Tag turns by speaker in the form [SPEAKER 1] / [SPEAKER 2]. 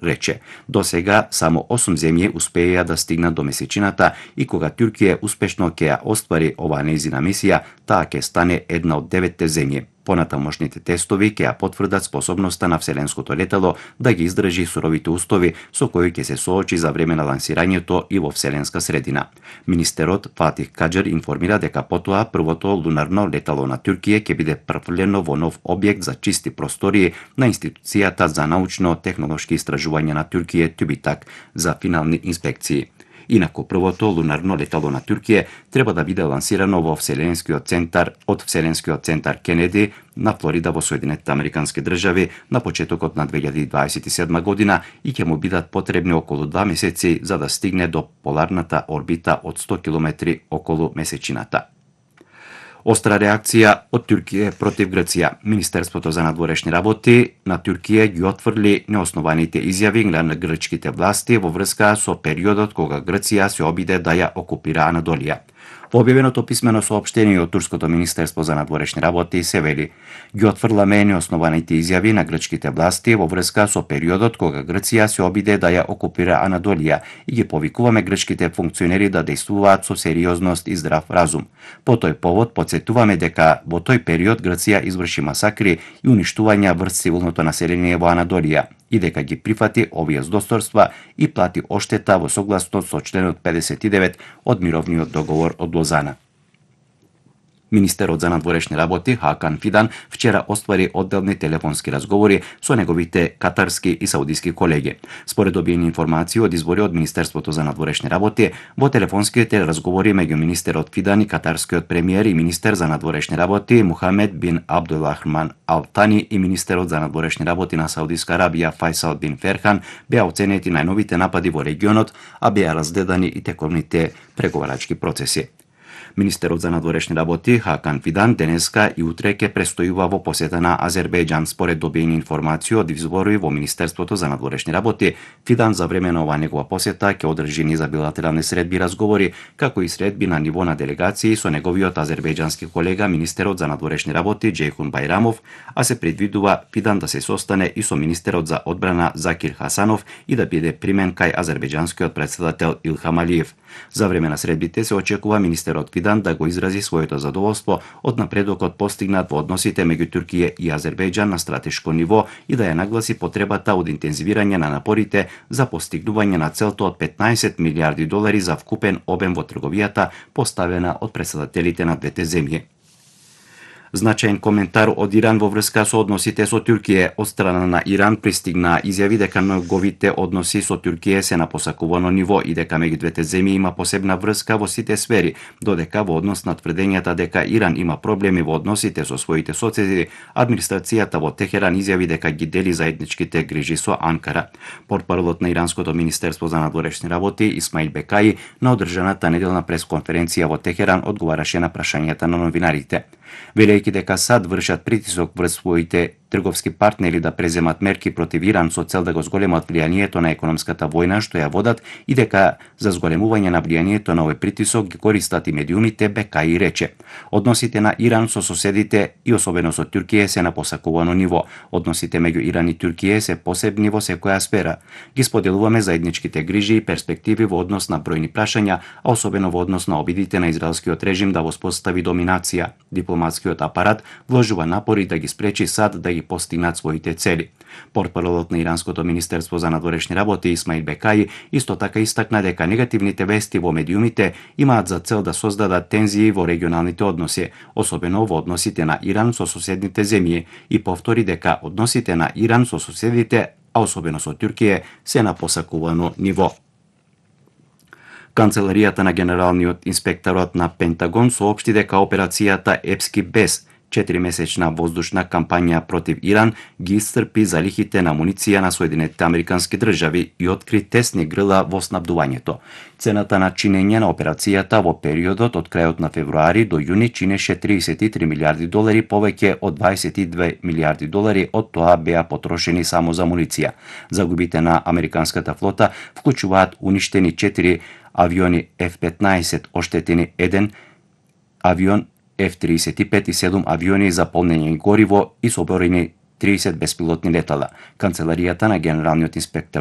[SPEAKER 1] рече. До сега само 8 земји успеја да стигнат до месечината и кога Туркија успешно ќе ја оствари оваа нејзина мисија, таа ќе стане една од 9 земји. Понатамошните тестови ќе ја потврдат способноста на вселенското летало да ги издржи суровите устови со кои ќе се соочи за време на лансирањето и во вселенска средина. Министерот Фатих Каџер информира дека потоа првото лунарно летало на Туркија ќе биде префрлено во нов објект за чисти простории на институцијата за научно-технолошки истражувања на Туркија ТÜBİTAK за финални инспекции. Инаку првото лунарно летало на Туркија треба да биде лансирано во Вселенскиот центар Кенеди на Флорида во Соединетите Американски држави на почетокот на 2027 година и ќе му бидат потребни околу 2 месеци за да стигне до поларната орбита од 100 км околу месечината. Остра реакција од Туркија против Грција. Министерството за надворешни работи на Туркија ги отфрли неоснованите изјави на грчките власти во врска со периодот кога Грција се обиде да ја окупира Анадолија. Во објавеното писмено соопштение од Турското министерство за надворешни работи се вели: ги отфрламе неоснованите изјави на грчките власти во врска со периодот кога Грција се обиде да ја окупира Анадолија и ги повикуваме грчките функционери да действуваат со сериозност и здрав разум. По тој повод подсетуваме дека во тој период Грција изврши масакри и уништувања врз цивилното население во Анадолија и дека ги прифати овие здосторства и плати оштета во согласност со членот 59 од мировниот договор од Лозана. Министерот за надворешни работи Хакан Фидан вчера оствари одделни телефонски разговори со неговите катарски и саудиски колеги. Според добиени информации од извори од Министерството за надворешни работи, во телефонските разговори меѓу министерот Фидан и катарскиот премиер и министер за надворешни работи Мухамед бин Абдулрахман Ал Тани и министерот за надворешни работи на Саудиска Арабија Фајсал бин Ферхан беа оценети најновите напади во регионот, а беа разгледани и тековните преговарачки процеси. Министерот за надворешни работи Хакан Фидан денеска и утре ќе престојува во посета на Азербејџан. Според добиени информации од извори во Министерството за надворешни работи, Фидан за време на оваа негова посета ќе одржи низ билатерални средби и разговори, како и средби на ниво на делегации со неговиот азербејџански колега министерот за надворешни работи Џейхун Бајрамов, а се предвидува Фидан да се состане и со министерот за одбрана Закир Хасанов и да биде примен кај азербејџанскиот претседател Илхам Алиев. За време на средбите се очекува министерот Фидан да го изрази своето задоволство од напредокот постигнат во односите меѓу Туркија и Азербејџан на стратешко ниво и да ја нагласи потребата од интензивирање на напорите за постигнување на целта од 15 милиарди долари за вкупен обем во трговијата поставена од претседателите на двете земји. Значаен коментар од Иран во врска со односите со Туркија. Од страна на Иран пристигнаа изјави дека неговите односи со Туркија се на посакувано ниво и дека меѓу двете земји има посебна врска во сите сфери, додека во однос на тврдењата дека Иран има проблеми во односите со своите соседи, администрацијата во Техеран изјави дека ги дели заедничките грижи со Анкара. Портпаролот на Иранското министерство за надворешни работи Исмаил Бекаи на одржаната неделна пресконференција во Техеран одговараше на прашањата на новинарите. Велејќи дека САД вршат притисок врз своите трговски партнери да преземат мерки против Иран со цел да го зголемат влијанието на економската војна што ја водат и дека за зголемување на влијанието на овој притисок ги користат и медиумите, Бекаи рече. Односите на Иран со соседите и особено со Туркија се на посакувано ниво. Односите меѓу Иран и Туркија се посебни во секоја сфера. Ги споделуваме заедничките грижи и перспективи во однос на бројни прашања, а особено во однос на обидите на израелскиот режим да воспостави доминација. Дипломатскиот апарат вложува напори да ги спречи САД да ги постигнат своите цели. Портпаролот на Иранското министерство за надворешни работи Исмаил Бекаи исто така истакна дека негативните вести во медиумите имаат за цел да создадат тензии во регионалните односи, особено во односите на Иран со соседните земји, и повтори дека односите на Иран со соседите, а особено со Туркија, се на посакувано ниво. Канцеларијата на генералниот инспекторат на Пентагон соопшти дека операцијата Епски без 4-месечна воздушна кампања против Иран ги исцрпи залихите на амуниција на Соединетите Американски држави и откри тесни грла во снабдувањето. Цената на чинење на операцијата во периодот од крајот на февруари до јуни чинеше 33 милиарди долари, повеќе од 22 милиарди долари од тоа беа потрошени само за амуниција. Загубите на американската флота вклучуваат уништени 4 авиони F-15, оштетени 1 авион F-35 и 7 авиони за полнење гориво и соборени 30 беспилотни летала. Канцеларијата на генералниот инспектор